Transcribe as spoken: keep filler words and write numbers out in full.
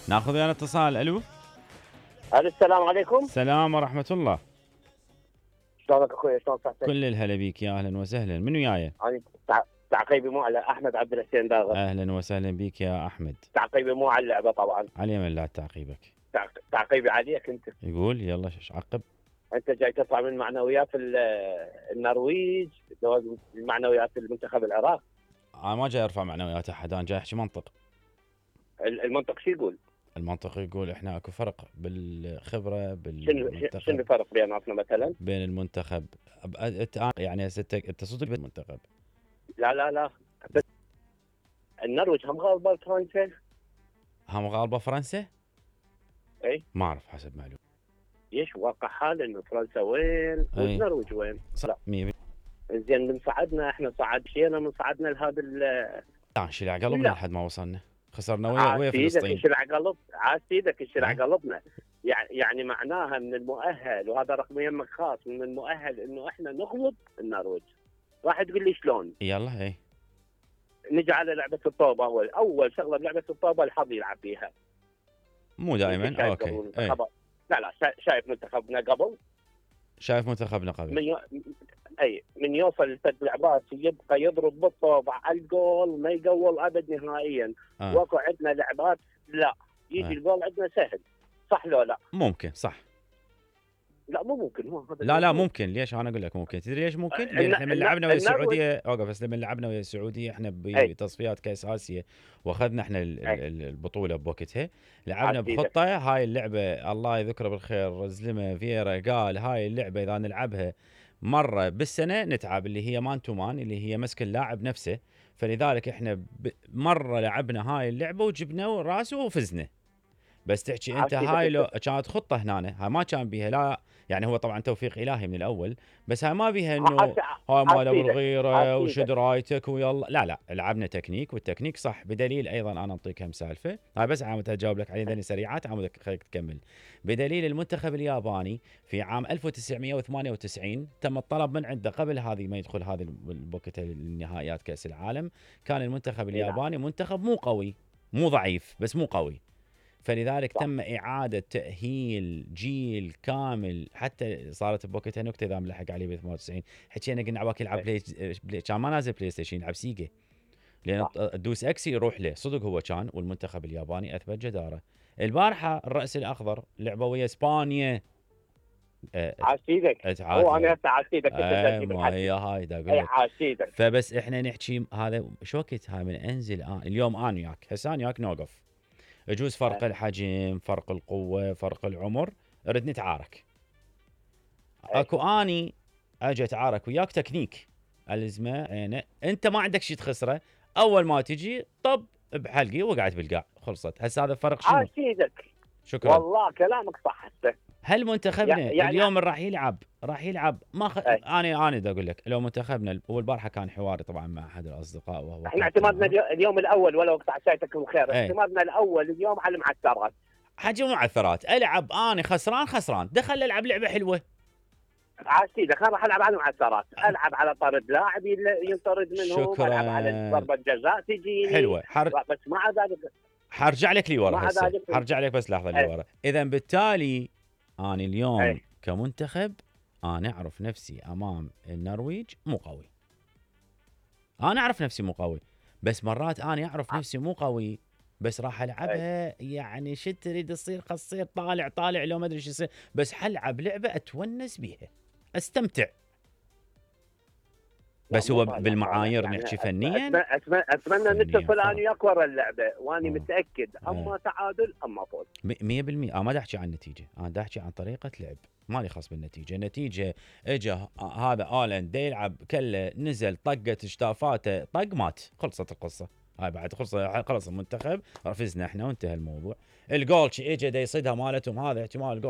ناخذ ويانا اتصال. الو السلام عليكم. السلام ورحمة الله. شلونك اخوي؟ شلون صحتك؟ كل الهلا بيك، يا اهلا وسهلا. من وياي؟ انا تع- تعقيبي مو على احمد عبد الحسين داغر. اهلا وسهلا بيك يا احمد. تعقيبي مو على اللعبه طبعا. علي من لا تعقيبك. تعق- تعقيبي عليك انت. يقول يلا ايش عقب؟ انت جاي تطلع من معنويات ال- النرويج، جواز المعنويات المنتخب العراق. انا ما جاي ارفع معنويات احد، انا جاي احكي منطق. ال- المنطق شو يقول؟ المنطق يقول احنا اكو فرق بالخبره شنو بالمنتخب. شنو الفرق بيناتنا مثلا؟ بين المنتخب أب- أنت يعني هسه انت أنت صدق بالمنتخب. لا لا لا بس النرويج هم غالبه فرنسا. هم غالبه فرنسا؟ اي ما اعرف حسب معلومه. ليش واقع حال انه فرنسا وين أي. والنرويج وين؟ لا مية بالمية. زين من صعدنا احنا صعد شينا من صعدنا لهذا ال- لا شيل قلبنا لا. لحد ما وصلنا. خسرنا ويا ويا عاد فلسطين. يشرع قلب عاد سيدك يشرع أه. قلبنا. يعني يعني معناها من المؤهل، وهذا رقم يمك خاص، من المؤهل انه احنا نغلب النرويج. راح تقول لي شلون؟ يلا اي نجي على لعبه الطوبه. اول اول شغله بلعبه الطوبه الحظ يلعب فيها. مو دائما. شايف اوكي قبل اي منتخب- لا لا شا- شايف منتخبنا قبل شايف منتخبنا قبل. من يو... اي من يوصل لثلاث لعبات يبقى يضرب بالطوبه على الجول، ما يقول ابد نهائيا. آه. واكو عندنا لعبات لا يجي آه. الجول عندنا سهل. صح لو لا؟ ممكن صح. لا مو ممكن. هو هذا لا لا الموضوع. ممكن. ليش انا اقول لك ممكن؟ تدري ليش ممكن؟ الن- لان احنا من الن- لعبنا ويا النرويج- السعوديه. اوقف بس. لما لعبنا ويا السعوديه احنا أي. بتصفيات كاس اسيا واخذنا احنا ال- أي. ال- البطوله بوقتها. لعبنا عاد بخطه هاي اللعبه الله يذكره بالخير زلمه فيرا قال هاي اللعبه اذا نلعبها مره بالسنه نتعب، اللي هي مان تو مان، اللي هي مسك اللاعب نفسه. فلذلك احنا ب- مره لعبنا هاي اللعبه وجبنا راسه وفزنا. بس تحكي انت عاد هاي كذا لو كانت خطه هنا، هاي ما كان بيها لا يعني، هو طبعا توفيق الهي من الاول، بس هاي ما بيها انه عاد- هاي مال عاد كذا. الغيره عاد وشد كذا. رايتك ويلا. لا لا لعبنا تكنيك، والتكنيك صح. بدليل ايضا انا اعطيك هم سالفه هاي بس عامل اجاوب لك عليه ذني سريعات عامل خليك تكمل. بدليل المنتخب الياباني في عام ألف وتسعمئة وثمانية وتسعين تم الطلب من عنده قبل هذه ما يدخل هذه البوكت النهائيات كاس العالم. كان المنتخب الياباني منتخب مو قوي مو ضعيف بس مو قوي، فلذلك صح. تم إعادة تأهيل جيل كامل. حتى صارت بوقتها نكتة إذا ملحق عليه ب ثمانية وتسعين حكينا قلنا عباك يلعب بلاي, بلاي كان ما نازل بلاي ستيشن يلعب سيجا، لأن صح. تدوس اكس يروح له صدق هو كان. والمنتخب الياباني أثبت جدارة. البارحة الرأس الأخضر لعبوا ويا إسبانيا. أه عاد سيدك. اتعادل. هو انا هسه عاد سيدك. أي ما هي هاي دا أقول اي لك. عاد سيدك. فبس احنا نحكي هذا شو وقت هاي من انزل آن. اليوم انا وياك هسه انا وياك نوقف، يجوز فرق الحجم، فرق القوة، فرق العمر، نريد نتعارك. أي. اكو اني اجي اتعارك وياك تكنيك الزمه عينه، انت ما عندك شيء تخسره، اول ما تجي طب بحلقي وقعت بالقاع خلصت. هسه هذا الفرق شنو؟ عاد سيدك. شكرا. والله كلامك صح هسه. هل منتخبنا يعني اليوم راح يلعب راح يلعب ما خ... أي. انا انا دا اقول لك لو منتخبنا. والبارحه كان حواري طبعا مع احد الاصدقاء وهو احنا كابتن اعتمادنا معه. اليو- اليوم الاول ولو قطع ساعتكم خير. أي. اعتمادنا الاول اليوم على المعسكرات. حجم معثرات. العب انا خسران خسران دخل العب لعبه حلوه. عاد سيدك انا راح العب على المعسكرات، العب على طرد لاعب يل- ينطرد منهم، شكراً. العب على ضربه جزاء تجيني حلوه. حر... بس مع ذلك حرجع لك لي ورا مع هسه، ذلك- حرجع لك بس لحظه لي أي. ورا. اذا بالتالي انا اليوم أي. كمنتخب انا اعرف نفسي امام النرويج مو قوي. انا اعرف نفسي مو قوي، بس مرات انا اعرف نفسي مو قوي بس راح العبها يعني شو تريد تصير قصير طالع طالع لو ما ادري شو يصير، بس حلعب لعبه اتونس بيها استمتع. بس هو لا، بالمعايير يعني نحكي أتمنى- فنيا اتمنى اتمنى فنياً نتصل انا فرق. وياك ورا اللعبه، واني آه. متاكد اما تعادل اما فوز. مية بالمية. انا ما دا احكي عن النتيجه، انا دا احكي عن طريقه لعب. مالي خاص بالنتيجه. النتيجه اجى هذا اولند دا يلعب كله نزل طقت شتافاته طق مات خلصت القصه. هاي بعد خلص خلص المنتخب فزنا احنا وانتهى الموضوع. الجول اجى دا يصيدها مالتهم هذا احتمال الجول